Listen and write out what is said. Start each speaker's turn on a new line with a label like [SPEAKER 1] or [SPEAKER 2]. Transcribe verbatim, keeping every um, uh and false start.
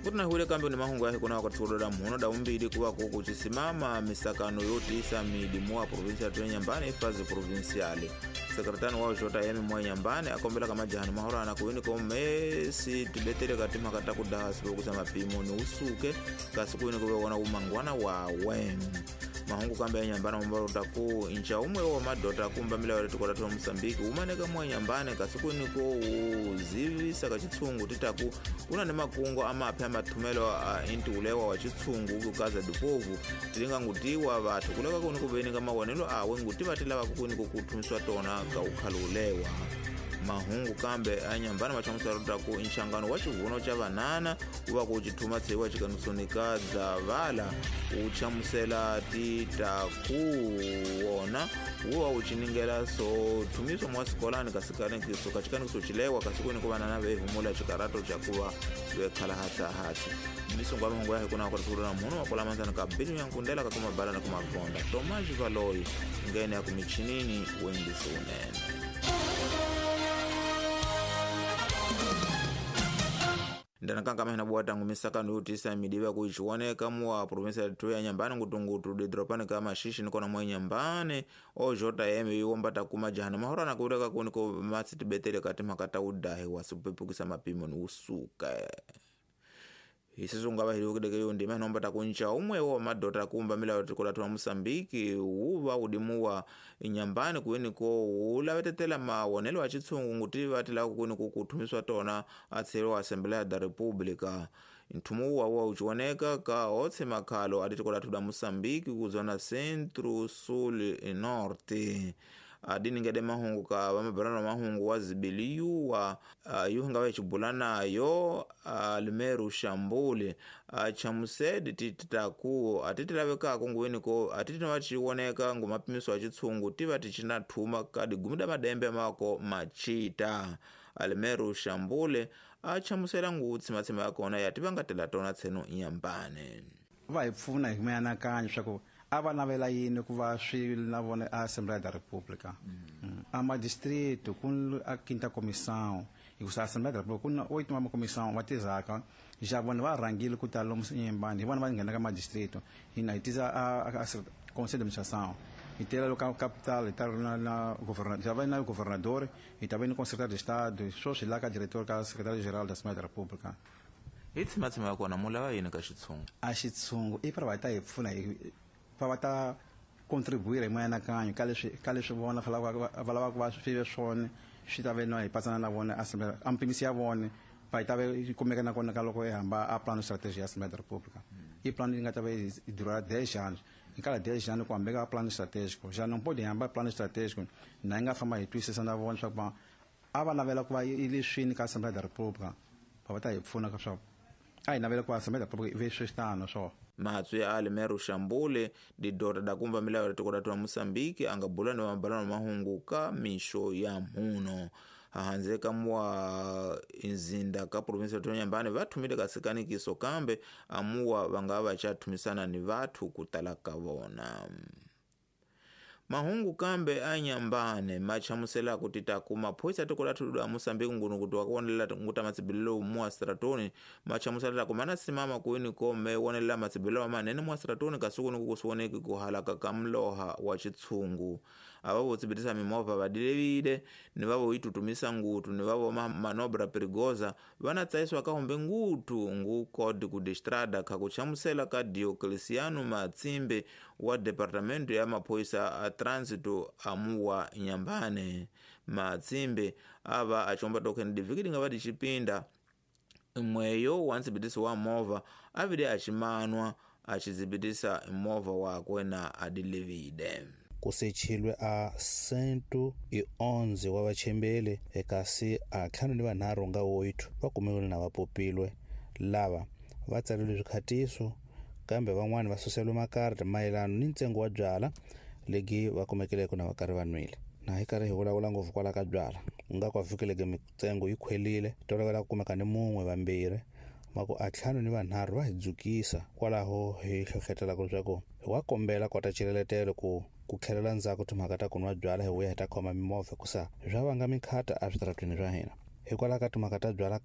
[SPEAKER 1] Kuti na hule kambi ni mahungu ya hikuna wakati muno da umbili kuwa kuku chisimama misakano yotisa midimu wa provinsia ya Nyambane ifazi provinsiali. Sekretari wa J M mwa Nyambane akombela kama jahani mahora na kuini ko mesi tibetele katima kata kudahasi kusa mapimo ni usuke kasi kuini kuwe wana umangwana wawe. Mahungu kambi ya Nyambane mbaro taku incha umwe wa madota kumba mila wale tukota tuwa Msambiki umaneka mwa Nyambane kasi kuini ko uzivisa kachitsungu titaku una ni makungo ama apya matumelo uh, inti ulewa wa chitsungu kukaza dupovu tilinga ngutiwa watu kuleka kuni kubeni kama wanelo awe nguti batila wakukuni kukutumiswa tona kaukalulewa. Mahungu kambe anyambana machamusa ku inshangano wa chivuno cha banana uba kuchituma tsewa chikanusonika dzavala uchamusela titakuona uwa uchiningela so tumiswa mwa sikolani kasikani kiso kachikani kisochilewa kasikuni ku banana vehumula chikarato chakuva vekhala hatsa hatsa misongo mahungu yahe kuna wakati muno wakola manzana kabili yankundela kakuma bala na kumagonda Tomaji Valoi ngene ya kumichinini wengisi unene. Ndanakanga mahina buwata ngumisaka nuyutisa midiwa kuichiwoneka muwa provinsia ya Nyambane ngutungutu didropane kama shishi nikona mwa Nyambane o J M yuombata kuma jahana mahora na kureka kuniko matsi betele katima kata udahi wasupepukisa mapimo ni usuka. Isisunga bahili ukideke yundi mahina ombata kuncha umwe wa madota kumba mila yotikula tuwa Msambiki uva udimuwa Nyambane kuiniko ulawetetela mawonelo wa chitsungu ngutiva tila kuiniko kutumiswa tona atsero Asamblea da República. Ntumuwa wa uchiwoneka ka otse makalo aditikula tuda Msambiki kuzona Centro Sul e Norte. Adini ngede mahungu ka wamabarano mahungu wa zibiliyu wa uh, yuhunga wa chibulana yo uh, Limeru Shambule uh, chamusedi titaku atitilaweka kunguweni ko atitina wachiwoneka ngumapimiso wa chitsungu tiva tichina thuma kadi gumida madembe mako machita. Alimeru Shambule achamusela ngutsi matsima yakona yativangatela tona tseno Nyambane.
[SPEAKER 2] Va hi pfuna hi mianakanyo swa a va navela yini ku va swi na vona a Assembleia da República. Mm. A madistrito ku a quinta comissão e a Assembleia da República ku oito uma comissão va tizaka já vona va rhangile ku ta lomu Nyambane hi vona va nghena ka madistrito hina hi tiza a, a, a conselho de administração e tela local capital e tal na, na governador já vai na governador e também no secretário de Estado só se lá ka diretor ka secretário geral da Assembleia da República.
[SPEAKER 1] Itsi matsima yakona mulava yini ka xitsungu?
[SPEAKER 2] A xitsungu i para va ta hi pfuna hi va ta contribuir hi mianakanyo ka leswi ka leswi vona va lavaka va swi ve swona swi ta ve na hi patsana na vona Assembleia a mpimisi ya vona va yi ta ve yi kumeka na kona ka loko hi hamba a plano stratégie ya Assembleia da República. I plano yi nga ta ve yi dura dez anos em cada dez anos ku hambeka plano estratégico já não pode hamba plano estratégico na yi nga famba hi twisisa na vona swa ku a va navela ku va yi leswini ka Assembleia da República va va ta hi pfuna ka swa a hi navela ku Assembleia da República yi ve switano swo.
[SPEAKER 1] Matswi ya Alimeru Shambule didota da kumba milayo ya tikota tuwa Mosambiki angabula ni mabalano mahungu ka misho ya muno. Hahanzeka mwa inzinda ka provinsia ya Nyambane vatumile kasikani kiso kambe amuwa vangava chatumisana ni vatu kutalaka vona. Mahungu kambe anyambane machamusela kutita kuma poisa tokola tudu Mosambiki ngunu kutuwa kuonelela nguta matsibililo mwa stratoni machamusela kumana simama kuini kome wonelela matsibililo manene mwa stratoni kasuku nukukusuoneki kuhalaka kamloha wa chitsungu. Ababo tsibitisa mimova badilevide ni vavo itutumisa ngutu ni vavo manobra perigoza vanatsaiswa kahombe ngutu ngu kodi kudistrada kakuchamusela ka Diocleciano Matsimbe wa departamento ya mapoisa a transito amuwa Nyambane. Matsimbe ava achomba token divikidi nga vadi chipinda mweyo wantsibitisi wa mova avide achimanwa achizibitisa mova wakwe na adilevide.
[SPEAKER 3] Kusechilwe a cento e onze wa vachembele ekasi a ntlhanu ni vanharhu nga oito va kumiwile na va popilwe lava va tsalelwe swikhatiso kambe van'wani va suseliwe makarata mayelana ni ntsengo wa byala legi va kumekeleke na va karhi va nwile. Na hi karhi hi vulavula ngopfu kwala ka byala u nga ku fikeleke mintsengo yi khwelile tolovela ku kumeka ni mun'we vambirhi mako a ntlhanu ni vanharhu va hi dzukisa kwalaho hi hlohletelaka leswaku hi wa kombela kota xileletelo ku ku tlhelela ndzhaku timhaka ta ku nwa byala hi vuya hi ta khoma mimovha hikusa swa vanga mikhata eswitarateni swa hina. Hikwalaho ka timhaka ta byala